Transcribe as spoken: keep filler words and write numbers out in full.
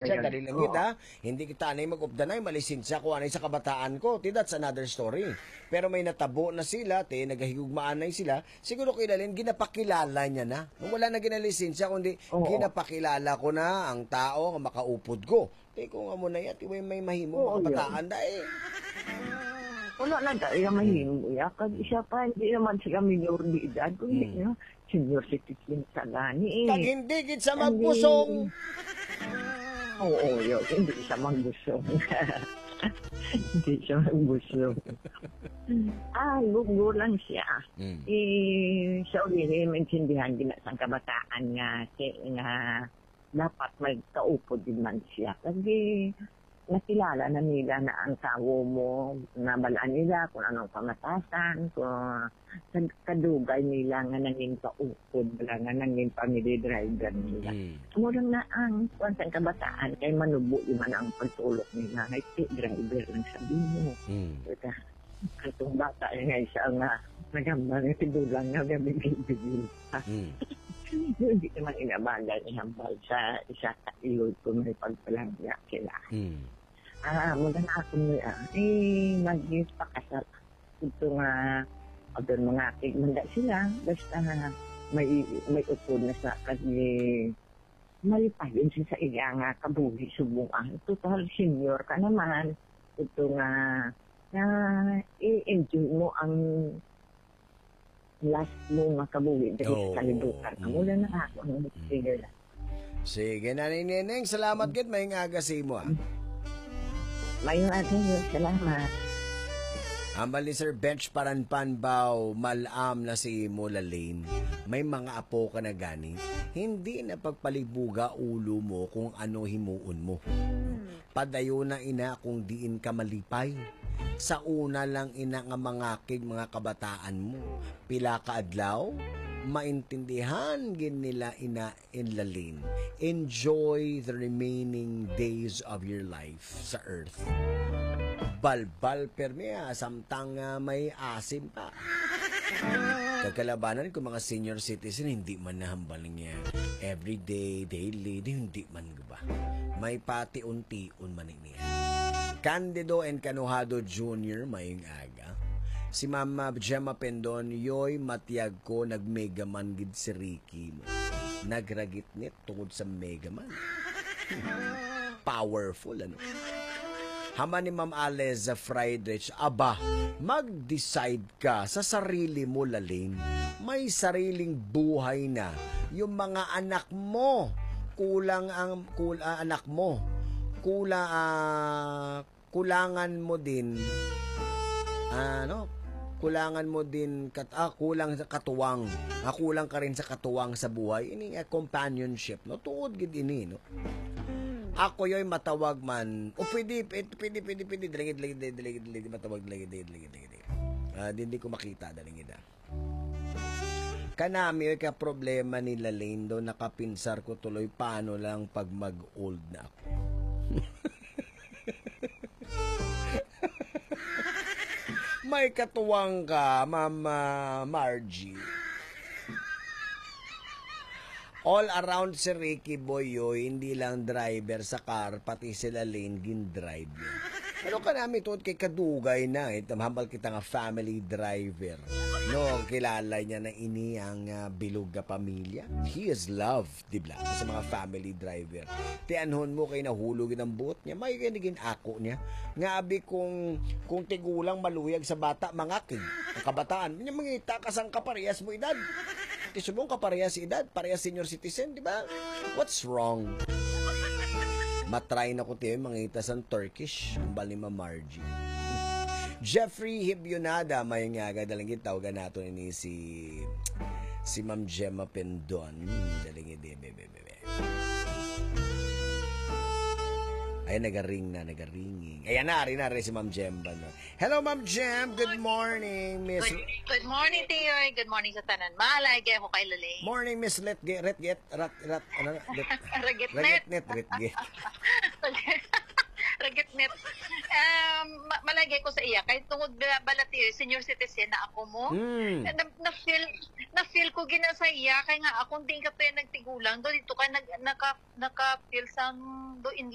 Siya, dali lang gid, ha? Hindi kita anay mag-updanay, malisensya ko anay sa kabataan ko. Ti, that's another story. Pero may natabo na sila, ti, nagahigugmaan na sila. Siguro kay Lalin, ginapakilala niya na. Nung wala na ginalisensya, kundi Oo. ginapakilala ko na ang tao nga makaupod ko. Ti, kung amo na yan, ti, may, may mahimo Oo, mga kabataan, dai. Wala na tayo mahimo, ya. Kag isa pa, hindi naman sila minor de edad. Kung hindi Hmm. na, senior citizen sa gani, eh. Kag hindi gid sa Hindi. magbusong. Oo, yun. Hindi sa magbusong. Hindi sa magbusong. Ah, gugo lang siya. Hmm. Eh, sa uli, maintindihan din na sang kabataan nga, si-, nga dapat may kaupod din man siya. Kasi nakilala na nila na ang tawo mo, nabalaan nila kung anong pamatasan, kung kad-, kadugay nila nga nangin kaupod, wala nga nangin family driver nila. Mm. Amo lang na ang kuwan sa kabataan, kay manubo man ang pagtulok nila, nga, "Ti, driver lang sabi mo." Mm. Kaya, katong bata, eh, nga isa nga nagambal nga tigulang nga gabigil-bigil pa. Mm. Hindi naman inabagay ihambal sa isa ka ilod kung may pagpalangga sila. Mm. Ah, maganda ako niya. Eh, nagpakasal. Ito nga, abang mga kigmanda sila, basta may, may upod na sa kag malipay yun siya sa iya nga kabuhi subong. Ah, total senior ka naman. Ito nga, na i-enjoy mo ang last mo nga kabuhi diri Oo. sa kalibutan. Amo Mm. lang na ako ang Mm. sige lang. Sige, Nanay Neneng, salamat gid. Maayong aga sa imo, ah. Maayong aga niyo. Salamat. Hambal ni Sir Bench Paranpanbaw, mal-am na si imo, Lalin. May mga apo ka na gani. Hindi na pagpalibuga ulo mo kung ano himuon mo. Hmm. Padayon na ina kung diin ka malipay. Sa una lang ina nga mangakig mga kabataan mo. Pila ka adlaw, maintindihan gid nila ina in Lalin. Enjoy the remaining days of your life sa earth. Balbal permi, ah, samtang, ah, may asim pa. Kagkalabanan ko mga senior citizen, hindi man nahambal niya everyday, daily, di, hindi man ba? May pati-unti-un man niya. Candido and Canuhado Junior, maayong aga. Si Mama Gemma Pendon, yoy, matiyag ko, nag-megaman gid si Ricky mo. Nagragitnit tungod sa megaman. Powerful, ano? Hambal ni Ma'am Aleza Friedrich, aba, mag-decide ka sa sarili mo, Lalin. May sariling buhay na yung mga anak mo. Kulang ang kul-, ah, anak mo. Kula-, ah, kulangan mo din, ano, kulangan mo din kat-, ah, kulang sa katuwang. Ah, kulang ka rin sa katuwang sa buhay. Ini nga companionship, no? Tuod gid ini, no? Ako yoy matawag man. O pwede, pwede, pwede, pwede, pwede. Dali, dali, dali, dali, dali, matawag, dali, dali, dali, dali, dali. Ah, di, di ko makita, dali, gid, ah. Kanami, oy, ka problema ni Lalindo, nakapinsar ko tuloy, paano lang pag mag-old na ako? May katuwang ka, Ma'am, ah, Margie. All around si Ricky Boy, oy, hindi lang driver sa car, pati si Lalin gin-drive niya. Pero kanami tuod kay kadugay na, eh, hambal kita nga family driver. No, kilala niya na ini ang, ah, bilog nga pamilya. He is love, di ba? Sa mga family driver. Tianhon mo kay nahulog ang buot niya, may gani gin-ako niya. Nga abi kung, kung tigulang maluyag sa bata, mangakig. Ang kabataan, niya mangita ka sang kaparehas mo edad. Ti subong kaparehas edad, parehas senior citizen, di ba? What's wrong? Matry na ko tiyo, mangita sang Turkish, ang bali ma Margie. Jeffrey Hibionada, may nga gadaling gitawagan nato ini si, si Ma'am Gemma Pendon. Hmm, daling ide, bebe, bebe. Ay, nagaring na, nagaringing. Ayan na, ari na, ari si Ma'am Gemma, no? Hello, Ma'am Gem. Good morning, Miss. Good, good morning, Tiyoy. Good morning sa tanan. Malay, gaya ko kay Lalaine. Morning, Miss Letge-, Retget, Rat, Rat, ano, Ret-, Regitnet. Regitnet, Retge. Gitnit. Um, ma- malagay ko sa iya kay tungod ba- bala ti senior citizen na ako mo. Hmm. Na, na, na-feel na-feel ko gina sa iya kay nga akong di ka to yung nagtigulang do dito kay nag, naka naka-feel sang do in